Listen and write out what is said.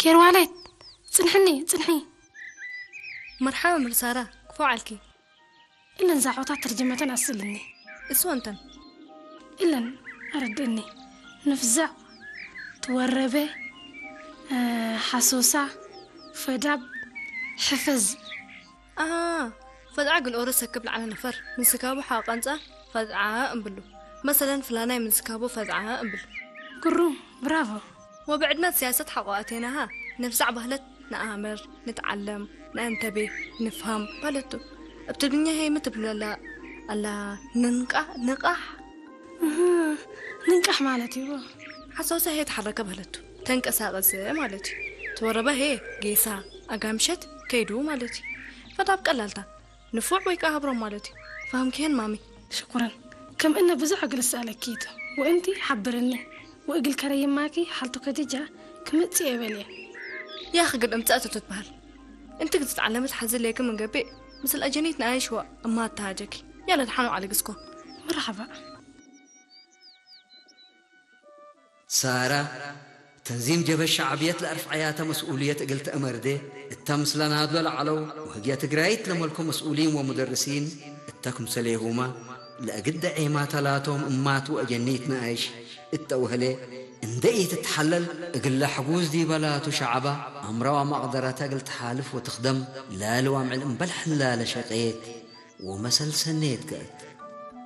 ኬርዋሌት፣ ጽንሕኒ፣ ጽንሒ። መርሓባ ምርሳራ፣ ክፎ ዓልኪ። እለን ዛዕባታት ተርጅመተን ኣስልኒ። እሱ እንተን። እለን ኣረድእኒ። ንፍዛዕ፣ ትወረበ፣ እ፣ ሓሶሳ፣ ፈዳብ፣ ሕፈዝ። ኣሃ፣ ፈዝዓ ግልኦሮ ሰክብ ለዓለ ነፈር፣ ምንስካቡ ሓቐንጻ ፈዝዓ እምብሉ። መሰለን ፍላናይ ምንስካቡ ፈዝዓ እምብል። ግሩም፣ ብራቮ። ወብዕድመት ሲያሰት ሓቆ ኣቴናሃ፣ ነፍዛዕ ባህለት ንኣምር፣ ንትዓለም፣ ንእንተቤ፣ ንፍሃም ባለቱ። እብ ትግርኛ ሄይ ምትብለላ ኣላ ንንቃ-፣ ንቃሕ? እህ፣ ንንቃሕ ማለት እዩ። ሓሳውሳ ሄ ተሓረከ ባለቱ፣ ተንቀሳቀሰ ማለት እዩ። ተወረበ ሄ ጌሳ፣ ኣጋምሸት ከይዱ ማለት እዩ። ፈዳብ ቀላልታ፣ ንፉዕ ወይ ከኣ ሃብሮም ማለት እዩ። ፋህምኪ ሄን ማሚ? ሽኩረን። ከም እነ ብዙሕ እግል እሰኣለኪ እቱ። ወእንቲ ሓብርኒ። ወእግል ከረይማኪ ሓልቱ ከዲጃ ክምጽእ የበልየ። ያኺ ግን እምጻእ እቱ ትበሃል። እንቲ ክትዓለመት ሓዚ ለይክ ምን ገቢእ ምስል ኣጀኒት ንኣይሽዋ እማ ኣተሃጀኪ። ያለ ድሓኑ ዓለግስኮ። መርሓባ። ሳራ፣ ተንዚም ጀበሽ ሸዕብየት ለኣርፍዓያተ መስኡልየት እግል ተእመርዴ፣ እተ ምስለ ናድሎ ለዐለው ወህግየ ትግራይት ለመልኮ መስኡሊን ወሙደርሲን እተ ክምሰሌሁማ፣ ለእግደ ዔማተ ላቶም እማት ወአጀኒት ነኣይሽ እተ ወህሌ፣ እንደ ኢትትሐለል እግለ ሕጉዝ ዲበ ላቱ ሸዐባ፣ አምረዋ መቅደረተ እግል ተሓልፍ ወትክደም፣ ለልዋምዕል እምበል ሕላለ ሸቄት ወመሰል ሰኔት ገአት።